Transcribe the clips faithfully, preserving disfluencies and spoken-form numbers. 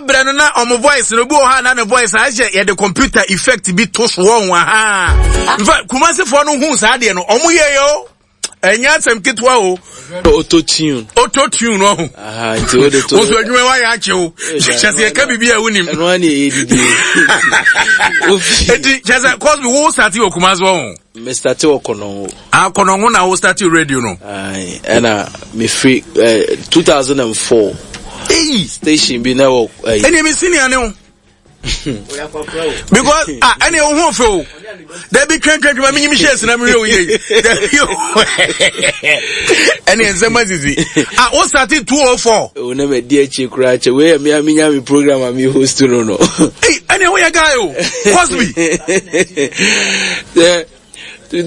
berɛ no na ɔmo voice no, obi wɔ hɔ a na ne voice ahyɛ yɛde computer effect bi to so wɔ ho aha. Nfa Kumasefoɔ no hu saa deɛ no, ɔmo yɛ yɛ o. Ɛnyɛ asɛm ketewa o. Auto tune. Auto tune no ho. Aha, nti o de to. Wo so adwuma wa yɛ akye o. Kyɛ sɛ yɛka biribi a wonim. Ɛno ani ɛyɛ didi. Enti kyɛ sɛ Cosby wo start wɔ Kumase wɔ ho. Me start wɔ Kɔnɔngo. Ah, Kɔnɔngo na wo start radio no. Aye, ɛna me free eh, two thousand four. Hey. Station bi na wɔ. Ɛni eh, mi senior ne o. Because ah, ɛni o ho fɛ o. Dabi twɛn twɛn twɛn ma mi nyi mi hyɛ esi na mi yɛ o yie. Dabi o. Ɛni nsɛm asisi. Ah, o start two oh four. O na mɛ di akyi kura kyɛ wei yɛ mi a mi nya mi program a mi host no no. Hey, ɛni o yɛ guy o. Cosby. Yeah.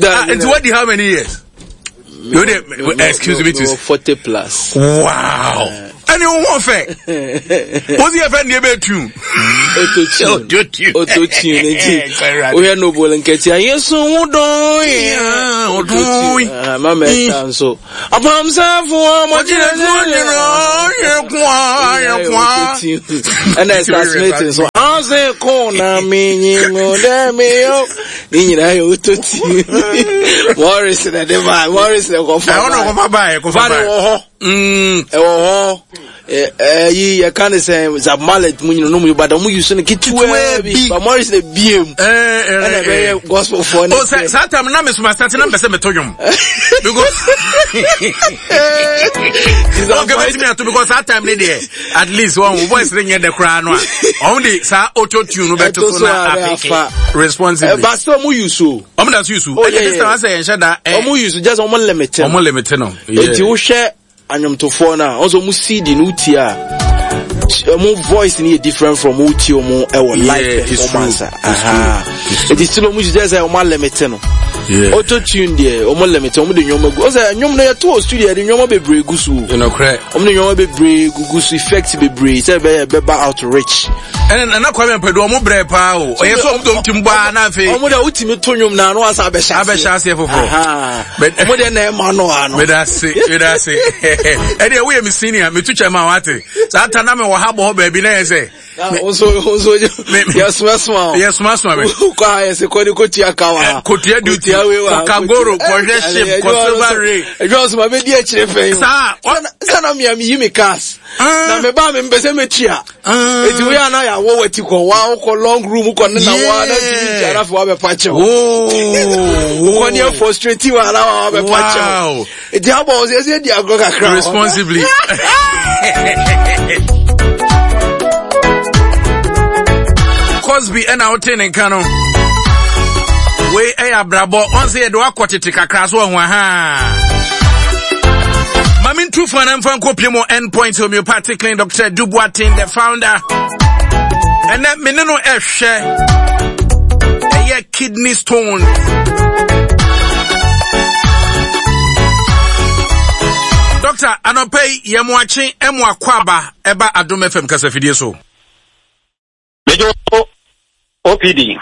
Ah, and what how many years? You dey excuse me to forty plus. Wow. Ɛni o ho fɛ. O si yɛ fɛ ni ebe tune. Auto tune. Auto tune. Auto tune nti. O yɛ noble nkɛtɛ a yesu wo dɔn ye. O dɔn ye. Mama ɛta nso. Apamsafo ɔmɔgyina yɛ kwa yɛ kwa. Ɛna ɛsa Smith nso. Ɔse ko na mi nyi mu dɛ mi yo. Ne nyinaa yɛ auto tune. Morris na de ba. Morris na kɔfa ba. Ɛwɔ na kɔfa ba yɛ kɔfa ba. Ba de wɔ hɔ. Ɛwɔ hɔ. Ɛyi yɛka ne sɛ Zab Mallet mu nyina no mu ba da mu use no ketewa bi ba Morris na biem ɛna ɛbɛyɛ gospel foɔ ne o sɛ saa tam na mesoma start na mpɛ sɛ meto dwom because okay bɛtumi ato because saa time ne deɛ at least wɔn wo voice ne nyɛ dɛ koraa no a ɔmo de saa auto tune no bɛto so na apeke responsibly ba sɛ ɔmo use o ɔmo da so use o ɛnyɛ this time asɛ yɛn hyɛ da ɔmo use just ɔmo limit no ɔmo limit no eti wohwɛ anyomtofoɔ no a ɔsɛ ɔmo C D no wotie a ɔmo voice no yɛ different from wotie ɔmo ɛwɔ live performance a eti still ɔmo kyerɛ sɛ ɔmo alimite no auto tune deɛ ɔmo limite ɔmo de nneɛma gu ɔsɛ nnwom no yɛto wɔ studio yɛde nneɛma bebree gu so ɔmo de nneɛma bebree gugu so effect bebree sɛ ɛbɛyɛ ɛbɛba out rich. Ɛnna Nana Kwame Ampadu ɔmo brɛ paa o ɔyɛ sɛ ɔmo de ɔmo ti mu baa na afei. Ɔmo de wotumi to nnwom na ano asa abɛhyɛ aseɛ abɛhyɛ aseɛ foforɔ. Ɔmo de na ɛma no ano. Medase medase ɛdeɛ woyɛ me senior metu kyɛ ma wate saa ta na me wɔ ha bɔ hɔ baabi na yɛ sɛ. Nso nso yɛsomasoma o. Yɛsomasoma me. Kɔ a yɛsɛ kɔ ne kotua ka wa. Kotua duty kɔ kagoro kɔhwɛ ship kɔ silver ray. Ɛdwa nso ma bɛ di akyire fɛn yi. Saa. Sanna mi a mi yi mi cars. Na me ba mi mpɛ sɛ mi tua. Eti wo yɛ ana yɛ awɔ wɔ ti kɔ wa kɔ long room kɔ ne na wa na ti mi tia na fɛ wa bɛ fa kyɛw. Kɔ ne yɛ frustrate wa na wa bɛ fa kyɛw. Eti abɔ ɔsɛ ɛsɛ di agorɔ kakra. Responsibly. Cosby ɛna wote ne nka no. Wei ɛyɛ abrabɔ ɔn sɛ yɛde wakɔ tete kakra so ɔho aha. Mami ntu fa na mfa nkɔ mu Endpoint Homeopathic Clinic Doctor Dubuatin the founder. Ɛnɛ me ne no ɛhwɛ ɛyɛ kidney stone. Doctor anɔpɛ yi yɛ mo akye ɛmo akɔ aba ɛba Adom F M kasafidie so. Mejo O P D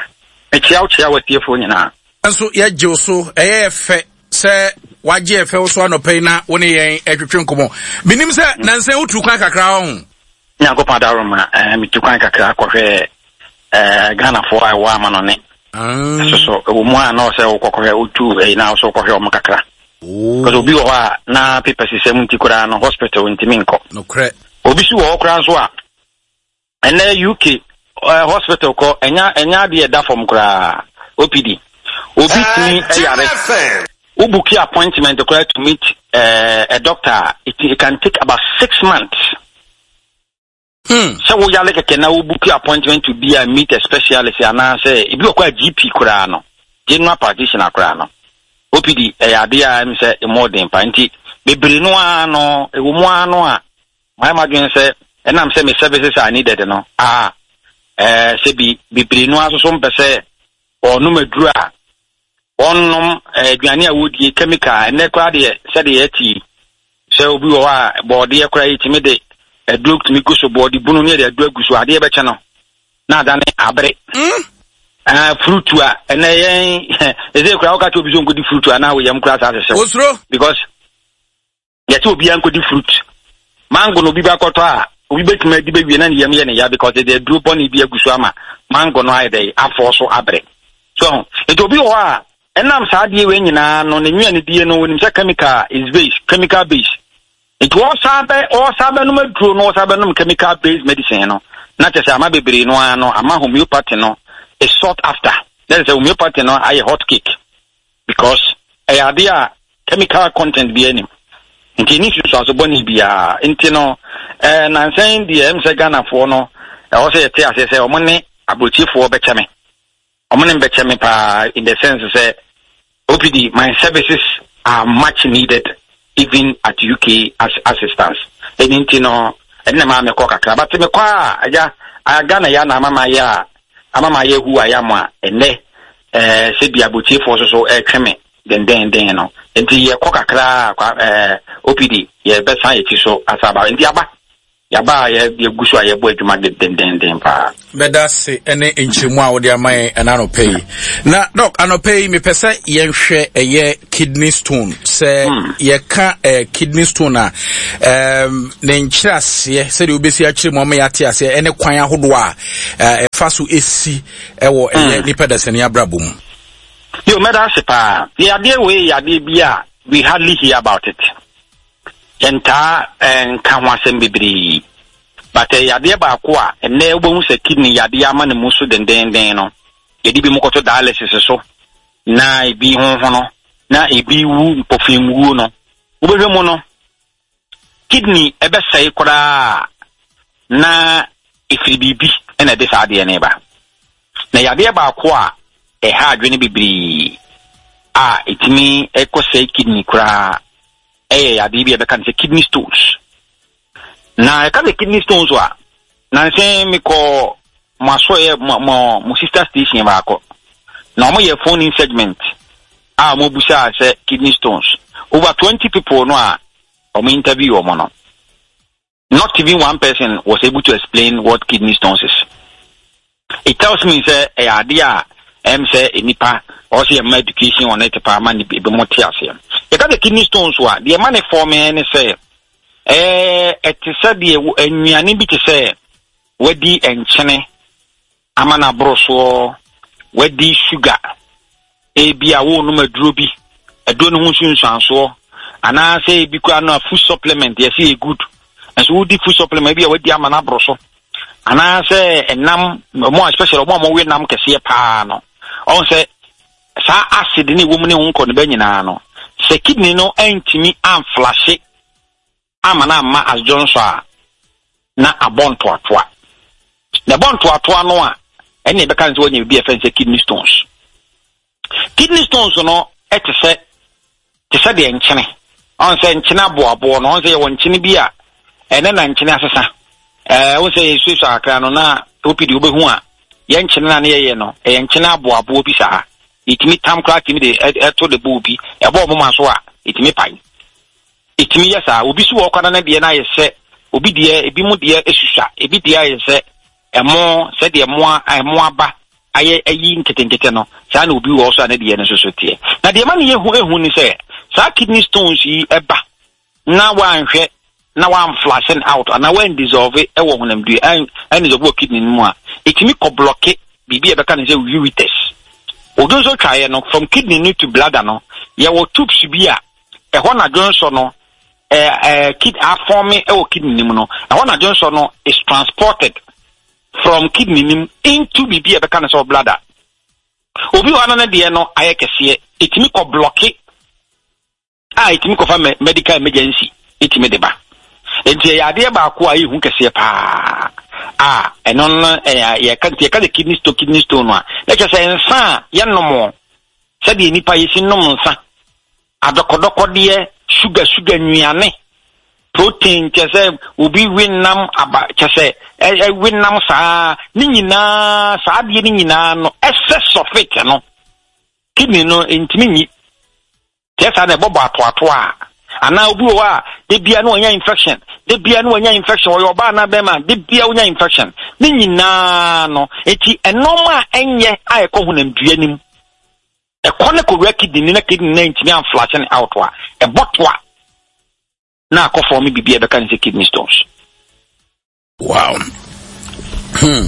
mekyia wo kyia watiefoɔ nyinaa. Nso yɛgye wo so ɛyɛ fɛ sɛ wagye ɛfɛ wo so anɔpɛ yi na wo ne yɛn ɛtwetwe nkɔmmɔ. Menim sɛ nansa wotu kwan kakra wɔ ho. Nyankopɔn adaroma, eh, metu kwan kakra kɔhwɛ eh, Ghanafoɔ a ɛwɔ ama no ne. So so ɛwɔ mu a na ɔsɛ wokɔkɔhwɛ wotu ɛyi na ɔsɛ wokɔhwɛ ɔmo kakra. Because obi wɔ hɔ a na paper sisɛm nti koraa no hospital ntumi nkɔ. Nokorɛ. Obi so wɔ hɔ koraa nso a ɛnɛ U K uh, hospital kɔ ɛnya ɛnya adeɛ ɛda fam koraa O P D. Obi tumi ɛyare. Wo book appointment koraa to meet uh, a doctor, it, it can take about six months. Hmm. So we are like a now book appointment to be a meet a specialist and I say if you acquire G P koraa no, general practitioner koraa no. O P D ɛyɛ adeɛ a ɛm sɛ more than pa nti bebree no ara no ɛwɔ mu ara no a my madwene sɛ ɛnam sɛ me services are needed no a eh sɛ bi bebree no ara so mpɛ sɛ ɔnom aduru a ɔnom aduane a wodie chemical ɛnɛ koraa deɛ sɛdeɛ ɛte sɛ obi wɔ hɔ a bɔɔdeɛ koraa yi tumi de aduro tumi gu so bɔɔde bunu ne yɛde aduro agu so adeɛ bɛkyɛ no na adane abere. Ah, fruit a ɛnɛ yɛn ɛsɛ koraa woka kyerɛ obi sɛ ɔnkɔdi fruit a na woyam koraa saa sɛsɛw. Osuro. Because yɛsɛ obiara nkɔdi fruit. Mango no obi bakɔtɔ a Obi bɛtumi adi bɛwie na ne yam yɛ ne ya because ɛde aduro bɔne bi agu so ama mango no ayɛ dɛ afɔ so abrɛ so. Nti obi wɔ hɔ a ɛnam saa adeɛ wei nyinaa no, ne nnuane die no, wɔnim sɛ chemical is base, chemical base, nti wɔsan bɛ wɔsan bɛnom aduro no, wɔsan bɛnom chemical based medicine no, na kyerɛ sɛ ama bebree no ara no ama homeopathy no is sought after. Na kyerɛ sɛ homeopathy no ayɛ hot cake because ɛyɛ adeɛ a chemical content bi anim, nti ni nsusuaso bɔne biara. Nti no ɛɛ nansɛn deɛ, ɛm sɛ Ghanafoɔ no, ɛwɔ sɛ yɛte aseɛ sɛ ɔmo ne aburokyifoɔ bɛkyɛ me, ɔmo ne mbɛkyɛ me paa, in the sense sɛ O P D, my services are much needed even at U K as assistance. Ɛni nti no, ɛne na maa mekɔ kakra, but mekɔ a, agya a Ghana yɛ na ama ma yɛ a ama ma yɛ hu ayɛ mo a ɛnɛ ɛɛ sɛ bi aburokyifoɔ so so ɛretwe me dendenden no. Nti yɛkɔ kakra a, ɛɛ O P D, yɛbɛsan yɛkyi so asa aba. Nti aba yaba a yɛgu so a yɛbɔ adwuma dendenden paa. Bɛda se ne nkyerɛmu a wode ama yɛn ɛna anɔpɛ yi. Na Doc, anɔpɛ yi mepɛ sɛ yɛnhwɛ ɛyɛ kidney stone. Sɛ hmm. yɛka eh, kidney stone a, um, ne nkyerɛaseɛ, sɛdeɛ wobɛsi akyerɛ mu ama yɛate aseɛ, ɛne kwan ahodoɔ a ɛfa so ɛsi ɛwɔ ɛyɛ hmm. nipa dasani abrabɔ mu. Yo, mɛda ase paa. Yɛ adeɛ wei yɛ adeɛ bi a we hardly hear about it. Yɛntaa nka ho asɛm bebree, but ɛyɛ adeɛ baako a ɛnɛ wobɛhu sɛ kidney yadeɛ ama ne mu so dendenden no, yɛde bi mu kɔto dialysis so, na ebi honhono, na ebi wu mpɔfimwuo no. Wobɛhwɛ mu no, kidney ɛbɛsɛe koraa na ɛfiri biribi ɛna ɛde saa adeɛ no ba. Na yadeɛ baako a ɛha adwene bebree a ɛtumi ɛkɔsɛe kidney koraa ɛyɛ yadeɛ bi a ɛbɛka no sɛ kidney stones. Na ɛka sɛ kidney stones a, nansɛn mekɔ mo asoɔyɛ, mo mo mo sister station baako, na wɔn yɛ phone in segment a wɔn busa sɛ kidney stones. Over twenty people no a wɔn interview wɔn no, not even one person was able to explain what kidney stones is. It tells me sɛ ɛyɛ adeɛ a ɛm sɛ nipa ɔsɛ yɛ ma education on it paa ma ne ebi mo te aseɛ. Yɛka sɛ kidney stones a, deɛ ma ne form ne sɛ ɛɛ ɛte sɛ deɛ nnuane bi te sɛ wadi nkyene ama no aboro soɔ, wadi sugar, ebi a wɔrenom aduro bi, aduro no ho nsunsuansoɔ, anaasɛ ebi koraa no a food supplement yɛsɛ yɛ good, nso wodi food supplement bi a wadi ama no aboro so, anaasɛ ɛnam ɔmo a, especially ɔmo a wɔwe nam kɛseɛ paa no, ɔmo sɛ saa acid ne ɛwɔ mu ne ho nkɔ ne bɛ nyinaa no, sɛ kidney no antumi amflush ama no amma as dwonsɔ a, na abɔ ntoatoa. Na ɛbɔ ntoatoa no a, ɛne ɛbɛka no sɛ wɔanya biribi a ɛfɛn sɛ kidney stones. Kidney stones no ɛte sɛ te sɛ deɛ nkyene, ɔn sɛ nkyene aboaboɔ no, ɔn sɛ yɛwɔ nkyene bi a ɛnɛ na nkyene asesa. Ɛɛ wɔn sɛ yɛsuasua kakra no na O P D, wobɛhu a yɛn nkyene na ne yɛyɛ no, ɛyɛ nkyene aboaboɔ bi saa. Ɛtumi tam koraa, tumi de ɛto de bowl bi ɛbɔ ɔmo ma so a, ɛtumi pae, ɛtumi yɛ saa. Obi so wɔ ɔkwana no deɛ no ayɛ sɛ obi deɛ, ebi mu deɛ esusua, ebi deɛ ayɛ sɛ ɛmo, sɛdeɛ ɛmo ɛmo aba ayɛ ayi nketenkete no, saa na obi wɔ so a ne deɛ no nso so teɛ. Na deɛ ma ne yɛ hu ehu ni sɛ saa kidney stones yi ɛba na wanhwɛ na wanflush out anaa wandissolve ɛwɔ honamdua, ɛn ɛndissolve wɔ kidney no mu a, ɛtumi kɔ block biribi a ɛbɛka ne sɛ ureters. Odwo nso twaeɛ no from kidney no to bladder no, yɛwɔ tubes bi a ɛhɔ na dwonsɔ no ɛɛ ɛɛ kid aform ɛwɔ kidney no mu no, ɛhɔ na dwonsɔ no is transported from kidney no mu into biribi a ɛbɛka ne sɛ bladder. Obi wɔ ano no deɛ no ayɛ kɛseɛ, ɛtumi kɔ block a ɛtumi kɔfa medical emergency ɛtumi de ba. Nti ɛyɛ adeɛ baako a ɛyɛ kɛseɛ paa a ɛno no ɛyɛ yɛka. Nti yɛka sɛ kidney stone, kidney stone no a, na kyerɛ sɛ nsa a yɛnom, sɛdeɛ nipa yɛsi nom nsa, adɔkɔdɔkɔdeɛ, sugar sugar nnuane, protein, kyerɛ sɛ obi we nam aba, kyerɛ sɛ ɛwe nam saa ne nyinaa, saa adeɛ ne nyinaa no, excess of it no, kidney no ntumi nyi. Kyerɛ saa na ɛbɔbɔ atoatoa a, anaa obi wɔ hɔ a de bia no wanya infection, de bia no wanya infection, ɔyɛ ɔbaa anaa bɛrima, de bia wonya infection ne nyinaa no. Eti ɛnɔɔma a ɛnyɛ a ɛkɔ honamdua nim, ɛkɔ ne kɔwura kidney na kidney na ntumi amflush ne out a, ɛbɔ toa na akɔ form biribi a ɛbɛka ne sɛ kidney stones. Wow. Hmm.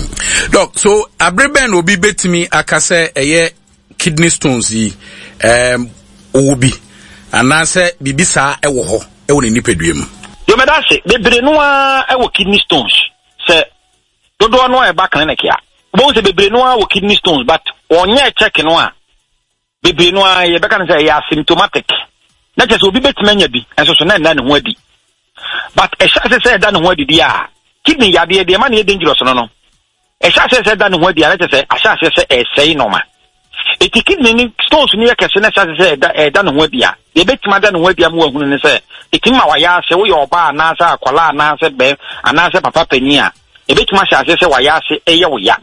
Doc, so abere bɛn na obi betumi aka sɛ ɛyɛ kidney stones yi um, ɔwɔ bi anaasɛ biribi saa ɛwɔ hɔ ɛwɔ ne nipadua mu? Yomeda ase bebree no ara ɛwɔ kidney stones. Sɛ dodoɔ no a ɛba clinic a, wobɛhu sɛ bebree no ara wɔ kidney stones, but wɔnyɛ check no a, bebree no ara yɛbɛka no sɛ ɛyɛ asymptomatic. Na kyerɛ sɛ obi bɛtumi anya bi nso so na ɛnna ne ho adi. But ɛhyɛ ase sɛ ɛda ne ho adi deɛ a, kidney yadeɛ deɛ ɛma no yɛ dangerous no no, ɛhyɛ ase sɛ ɛda ne ho adi a, na kyerɛ sɛ ahyɛ aseɛ sɛ ɛsɛe nɔɔma. Eti kidney ne stones no yɛ kɛse na ɛhyɛ ase sɛ ɛda ɛda ne ho adi a, deɛ ɛbɛtumi ada ne ho adi ama wahunu ne sɛ, ɛtumi ma wayɛ ase, woyɛ ɔbaa anaasɛ akwadaa anaasɛ bɛɛ anaasɛ papa panin a, ɛbɛtumi ahyɛ aseɛ sɛ wayɛ ase ɛyɛ wo ya.